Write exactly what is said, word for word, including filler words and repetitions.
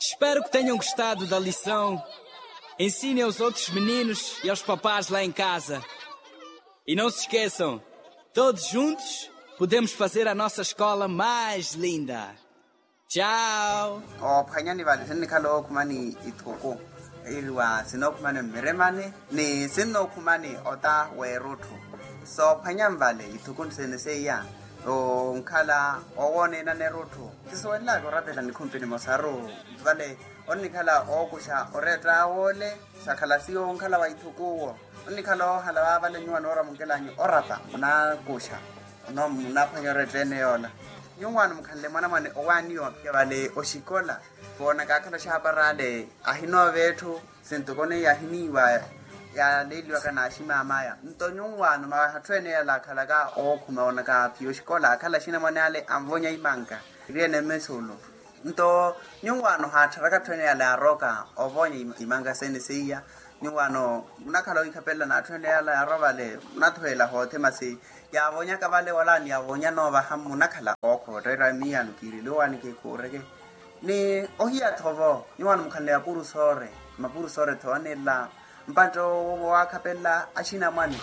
Espero que tenham gostado da lição. Ensinem aos outros meninos e aos papás lá em casa. E não se esqueçam, todos juntos podemos fazer a nossa escola mais linda. Tchau. Oophwanyani vale sinnikhala ookhumani ithuku, iriwa sinookhumani mmiremani ni sinnookhumani ota w'erutthu. Soophwanyani vale ithuku sene seiya, onkhala owooneenani erutthu. Sisuwelelaka orapela nikhumpi nimosaru vale, onnikhala ookuxa oreetta woole. Sakhala siyo onkhala wa ithuku owo, onnikhala oohala waavale nyuwa noora munkelanyu orapa munaakuxa, munaaphwanya oreetta ene yoola. Nyuwaano mukhanle mwanamwane owaaniwa vale oxikola, voonaka akhala oxaaparaale ahinoova etthu. Sintoko neiya ahiniiwa yaaleeliwaka n'aximaamaya. Nto nyuwaano mawaha atthu ene yala akhalaka ookhuma onaka phi oxikola akhala axinamwane ale anvonya imanka, iriene mmesulo. Nto nyuwaano haattharaka atthu ene yala yaaroka ovonya imanka sene seiya. Nyuwaano munakhala oikhapelela n'atthu ene yala yaarwa vale munathuwela hoothe masi, yaavonyaka vale wala niyavonya noovaha munakhala ookhootteera miyaano kiiriliwani kikhuureke. Ni ohiya-tho vo nyuwaano mukhanle mapuru soore, mapuru soore tho anelela mpantte owaakhapelela axinamwane.